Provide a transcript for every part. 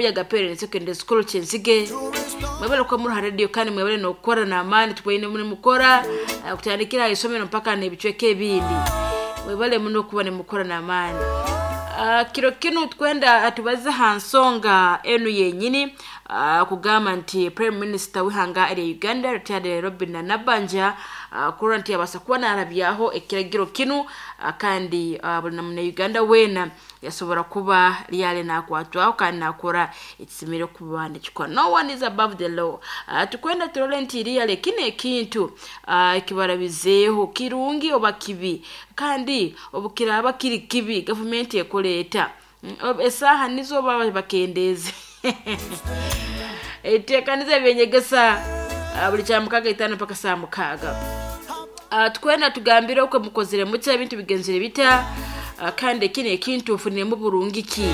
Buyaga Parents Secondary School Kyenzige. Mwebale kuba muri ha radio kandi mwebale n'okukora n'amaani tukwaine muri mukora kutandikira aha isomero mpaka n'ebicweka ebindi. Mwebale muno kuba nimukora n'amaani. Kiro kinu twenda tubaze ha nsonga enu yenyini, kugamba nti Prime Minister w'ihanga erya Uganda retired Robin Nabanja, kurora nti yabasa kuba narabyaho ekiragiro kinu, kandi buli na Uganda weena yasobora kuba lyali nakwatwaho kandi nakora ekisemeriire kuba nikikora. No one is above the law. Tukwenda turole nti really kinu ekintu ekibarabizeeho kirungi oba kibi, kandi obukiraaba kiri kibi gavumenti ekora eta? Esaaha nizo baba bakendeeze eteekaniza ebyenyegesa buli kyamukaga itaano mpaka saa 6. Tukwenda tugambire okwe mukozere mutya, ebintu bigenzere bita, kandi kino ekintu nfuniremu burungi ki?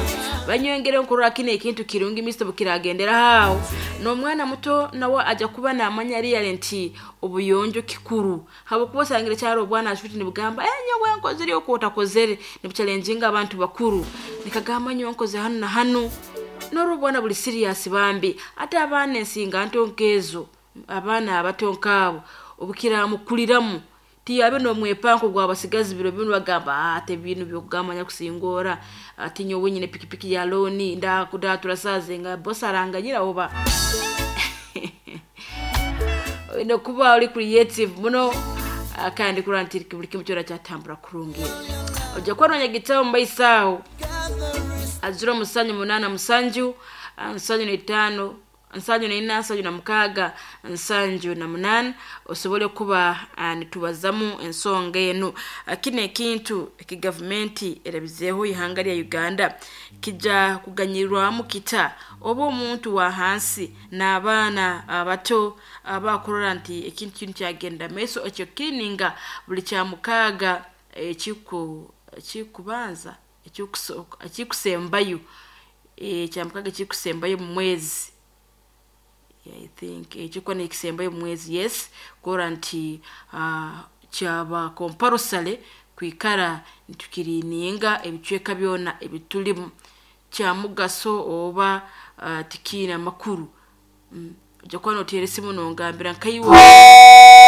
Banyongere nkurora kino ekintu kirungi misto bukiragendera aho n'omwana muto nawe ajya kuba namanya really nti obuyonjo kikuru, habwokuba osangire kyaro obwana ashuti nibugamba nyowe nkozere okwo otakozere, nibuchalenjinga abantu bakuru nikagamba nyowe nkoze hanu na hanu. Norwo obwana buli serious bambi, ate abaana ensinga nto nkezo, abaana abato nkaabo obukiramukuliramu tiyabe n'omwepanko gw'abasigazi biro binu bagamba ate binu byokugamba nyakusingora ati nyowe nyine pikipiki ya looni ndatura saaze nga boss aranganyira oba oyine kuba ori creative muno, kandi kurora nti buli kimu kyona kyatambura kurungi. Ojja kuba nonyegitaho mu maiso aho azira omusanju munaana musanju nsanju n'etaano nsanju n'ina nsanju na mukaaga nsanju na munaana, osobole kuba nitubazamu ensonga enu. Kino ekintu eki gavumenti erabizeeho ihanga lya Uganda kijja kuganyirwamu kita oba omuntu wa hansi n'abaana abato abakurora nti ekintu kinu kyagenda maiso ekyo kirininga buli kyamukaaga ekikubanza ekikusembayo, ekyamukaaga ekikusembayo mu mwezi, I think ekikuba nikisembayo mu mwezi, yes, kurora nti kyaba compulsory kwikara nitukirininga ebicweka byona ebitulimu, kyamugaso oba tikiine amakuru. Ojja kuba noteera esimu nongambira nkaiwe.